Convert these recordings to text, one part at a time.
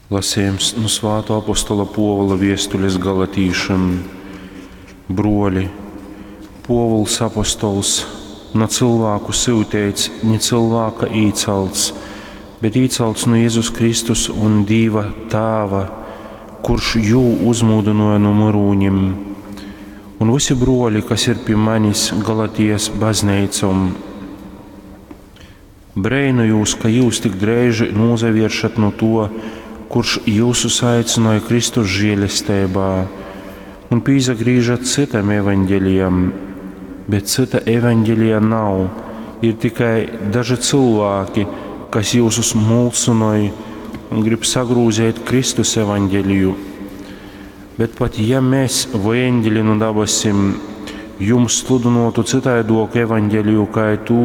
Lasejums nu Svātō apostola Pōvula viestules galatīšim. Bruoli, Pōvuls apostols, na cylvāku syuteits, ni cylvāka īcalts, bet īcalts nu Jezus Kristus un Dīva Tāva, kurš jū uzmūdynōja nu myrūnim, un vysi bruoli, kas ir pi manis Galatijas bazneicom. Breinojūs, ka jyus tik dreiži nūsavieršat nu tuo, kurš jyusus aicynoj Kristus žielesteibā, un pīsagrīžat cytam evaņgelijam, bet cyta evaņgelija nav, ir tikai daži cylvāki, kas jyusus mulsynoj un grib sagrūzeit Kristus evaņgeliju. Bet pat ja mēs voi eņģeļi nu dabasim jums sludynuotu cytaiduoku evaņgeliju kai tū,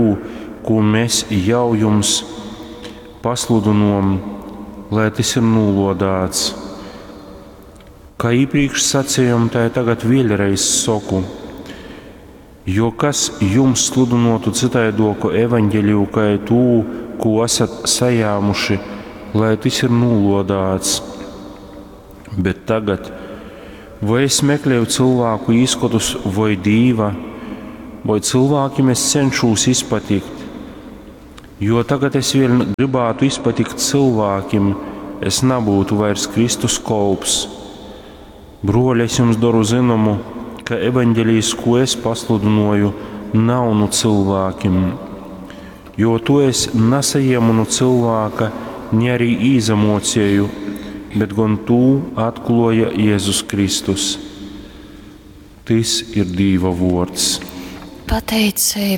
kū mēs jau jums pasludynuom, lai tys ir nūluodāts. Kā iepriekš sacījom, tai tagad vēļreiz soku. Jo kas jums sludynuotu cytaiduoku evaņgeliju kai tū, kū esat sajāmuši, lai tys ir nūluodāts. Bet tagad, voi es meklēju cylvāku īskotus voi Dīva, voi cylvākim es cenšūs izpatikt? Jo tagad es vēļ gribātu izpatikt cylvākim, es nabūtu vairs Kristus kolps. Bruoli, es jums doru zynomu, ka evaņgelijs, ko es pasludynoju, nav nu cylvākim. Jo to es nasajiemu nu cylvāka, ni arī īsamocieju, bet gon tū atkluoja Jēzus Kristus. Tys ir Dīva vuords. Pateiceiba.